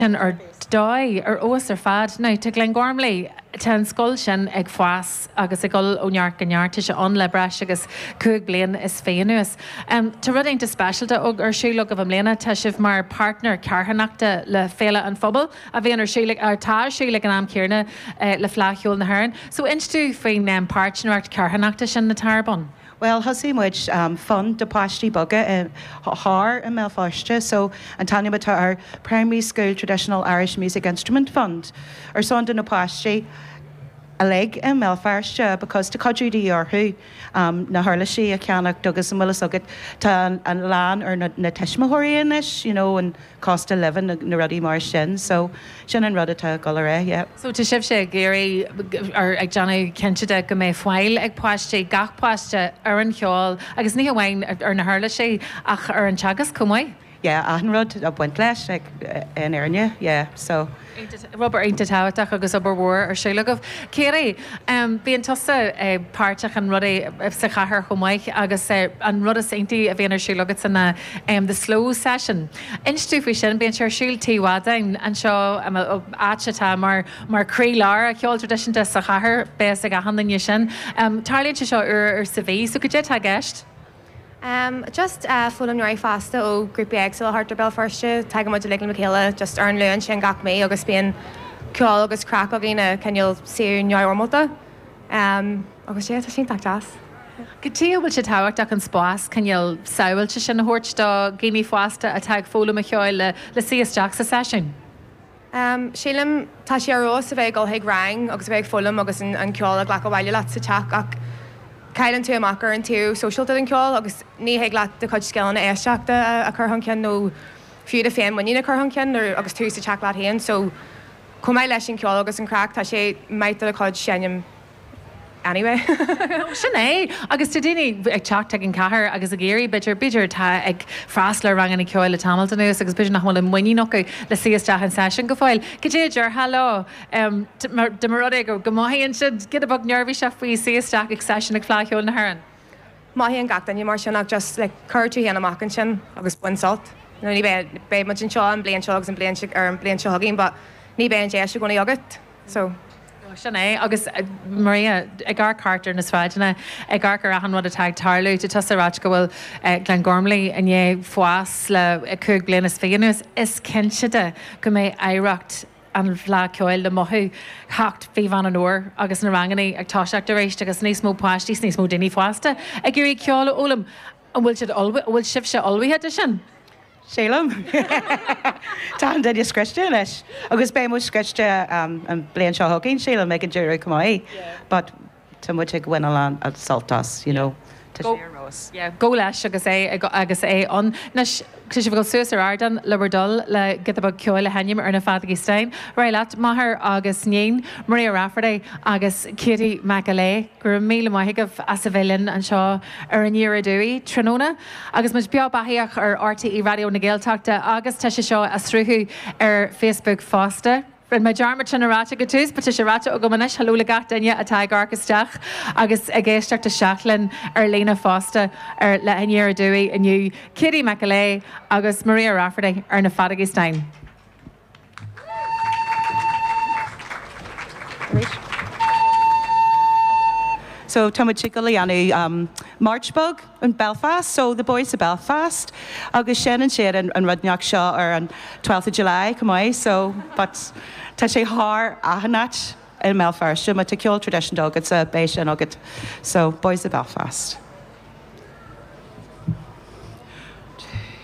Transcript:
Sin ar dóigh, ar fheabhas ar fad. Now, tá Glengormley, tá an scoil sin ag fás agus ag dul ó neart go neart. Tá sé ann le breis agus 25 bliain anuas. Tá rud iontach speisialta ar siúl agaibh i mbliana. Tá sibh mar páirtneir carthanachta le Féile an Phobail a bhíonn ar siúl, atá ar siúl ag an am céanna le Fleadh Cheoil na hÉireann. So inis dúinn faoin páirtnéireacht carthanachta sin atá ar bun. Bhuel, thosaigh muid fund do páistí beaga thar i mBéal Feirste, so an t-ainm atá air Primary School Traditional Irish Music Instrument Fund, ar son do na páistí uilig i mBéal Feirste because tá cuidiú de dhíth orthu na huirlisí a cheannacht agus an bhfuil fhios agat tá a lán ar na tuismitheoirí anois, you know, an cost of living na rudaí mar sin so sin an rud atá ag dul ar aghaidh, yeah. So tá sibhse ag iarraidh or ag déanamh cinnte de go mbeidh fáil ag páistí, gach páiste, ar an cheol agus ní hamháin ar na huirlisí ach ar an teagasc chomh maith? Yeah, achan rud ag baint leis like in fhírinne, yeah, so. Obair iontach tábhachtach agus obair mhór ar siúl agaibh. Katie, bíonn tusa páirteach in rudaí sa chathair chomh maith agus an rud is iontaí a bhíonn ar siúl agatsa ná The Slow Session. Inis dúinn faoi sin, bíonn sé ar siúl Tigh Mhadáin anseo, áit atá mar mar croílár an cheoil traidisiúnta sa chathair, beidh fhios ag achan duine sin. Tarlaíonn sé seo uair sa mhí, so cad é atá i gceist? Just foghlaimeoirí fásta ó grúpaí éagsúla thart ar Béal Feirste. Tagann muid uilig le chéile just ar an Luan sin gach mí agus bíonn ceol agus craic againn i cineál suíomh neamhfhoirmeálta. Agus yeah, tá sé iontach deas. Cad chuige a bhfuil sé tábhachtach an spás cineál sábháilte sin a thabhairt do dhaoine fásta atá ag foghlaim an cheoil le suí isteach sa seisiún? Sílim, tá sé ar fheabhas a bheith ag dul chuig rang agus a bheith ag foghlaim agus an ceol a ghlacadh abhaile leat sa teach ach cailleann tú amach ar an taobh sóisialta den cheol agus ní thig leat do chuid scileanna éisteachta a chur chun cinn nó fiú do féinmhuinín a chur chun cinn nuair agus tú sa teach leat féin so chomh maith leis an cheol agus an chraic tá sé maith do do chuid seinm anyway. Sin é. Agus tá daoine ag teacht chuig an chathair agus ag iarraidh, b'fhéidir, b'fhéidir atá ag freastal ar ranganna ceoil le tamall anuas agus b'fhéidir nach bhfuil an muinín acu le suí isteach in seisiún go fóill. Cad é a déarfá leo dá mba rud é go mothaíonn siad giota beag neirbhíseach faoi suí isteach ag seisiún ag Fleadh Cheoil na hÉireann? Mothaíonn gach duine mar sin ach just like cuir tú féin amach ansin agus bain sult. You know, ní bheidh, beidh muid anseo an bliain seo agus an bliain seo, ar an bliain seo chugainn but ní bheidh an deis i gcónaí agat. So. Sin é. Agus Maria, ag amharc thart ar na sráideanna, ag amharc ar achan rud atá ag tarlú, tá tusa ag ráit go bhfuil Glengormley i ndiaidh fás le 25 bliain anuas, is cinnte de go mbeidh oidhreacht an Fhleadh Cheoil le mothú theacht mhí Mheán an Fhómhair agus na ranganna ag toiseacht arís agus níos mó páistí is níos mó daoine fásta ag iarraidh ceol a fhoghlaim. An bhfuil siad ullmhaithe, an bhfuil sibhse ullmhaithe do sin? Sílim. Tá an duine scriosta anois agus beidh muid scriosta an bliain seo chugainn, sílim, ag an deireadh chomh maith. But tá muid ag baint a lán sult as, you know. Tá sé ar fheabhas. Yeah, go leis agus é agus é ann. Anois, tá sibh ag dul suas ar ardán le bhur dtoil le giota beag ceoil a sheinm ar na feadógaí stáin. Ar aghaidh leat, máthair agus níon, Maria Rafferty agus Katie McElyea. Go raibh míle maith agaibh as a bheith linn anseo ar Aniar Aduaidh tráthnóna. Agus muid beo beathaíoch ar RTÉ Raidió na Gaeltachta agus tá sé seo á sruthú ar Facebook fosta. Rinne mé dearmad sin a ráit ag an tús but tá sé ráite agam anois, hello le gach duine atá ag amharc isteach agus ag éisteacht isteach linn ar líne fosta ar le Aniar Aduaidh inniu, Katie McElyea agus Maria Rafferty ar na feadógaí stáin. So tá muid ag dul a dhéanamh march beag in Belfast, so the Boys of Belfast agus seinneann siad an rud inteacht seo ar an 12th of July chomh maith so but tá sé thar achan áit i mBéal Feirste, má tá ceol traidisiúnta agatsa beidh sin agat so Boys of Belfast.